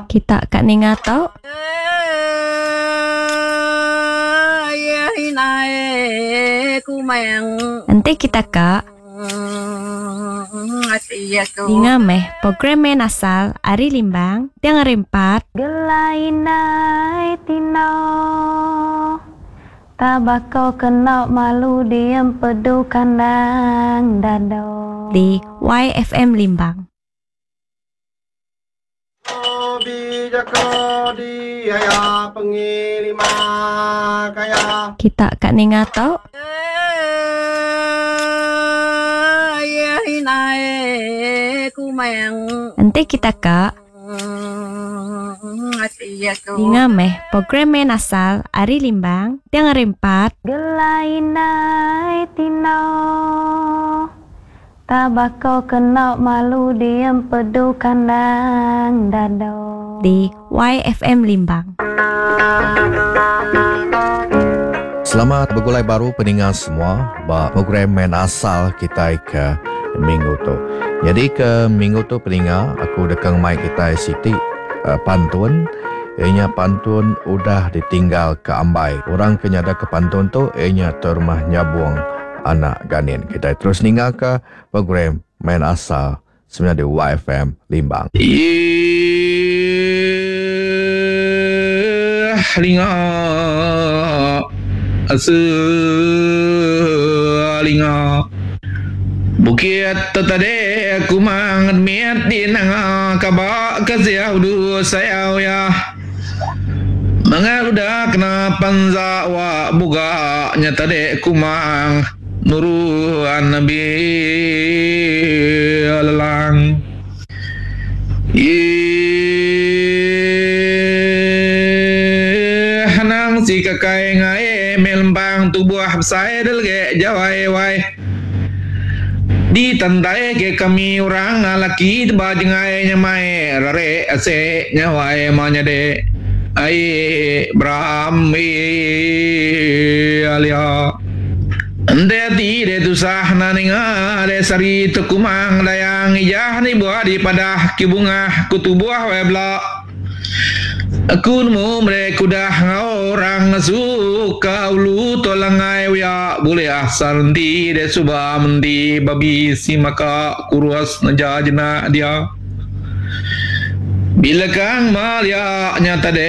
Kita ka ninga tu. Enti kita ka. Ninga meh program main asal ari Limbang tiang hari empat. Gelai indai tino Tabako kena malu diempedu kandang dado. Di YFM Limbang. Kita ka ninga tu. Enti kita ka. Ninga meh program main asal ari Limbang tiang hari empat. Gelai indai tino Tabako kena malu diempedu kandang dado. Di YFM Limbang. Selamat begulai baru peninga semua ba program main asal kitai ke minggu tu. Nyadi ke minggu tu peninga aku deka ngemai kitai siti pantun iya nya pantun udah ditinggal ke ambai. Orang ke nyada ke pantun tu iya nya Tuai Rumah Nyabong Anak Ganin. Kitai terus ninga ka program main asal semina di YFM Limbang. Iyh linga selinga Bukit tetade kumang mit di nanga kaba ke siau du sayau ya. Mengat udah kena panza wa buga nya tadi kumang nurun nabi lelang. Ih anang si kakai ngai meh lempang tubuh besai delege jawai wai. Di tantai ke kami orang laki teba jengai nyamai rare ase nyawai ma nyade ai beram alia. Enti ati deh tusah na ninga deh sari tekumang dayang ijah ni buah di padah ki bungah ku tubuh wai bela. Aku nemu meri kudah enggau orang suka ulu tu langai uya bulih asal enti deh suba menti babi si maka kurus neja jenak dia. Bila kang ma lia nya tadi.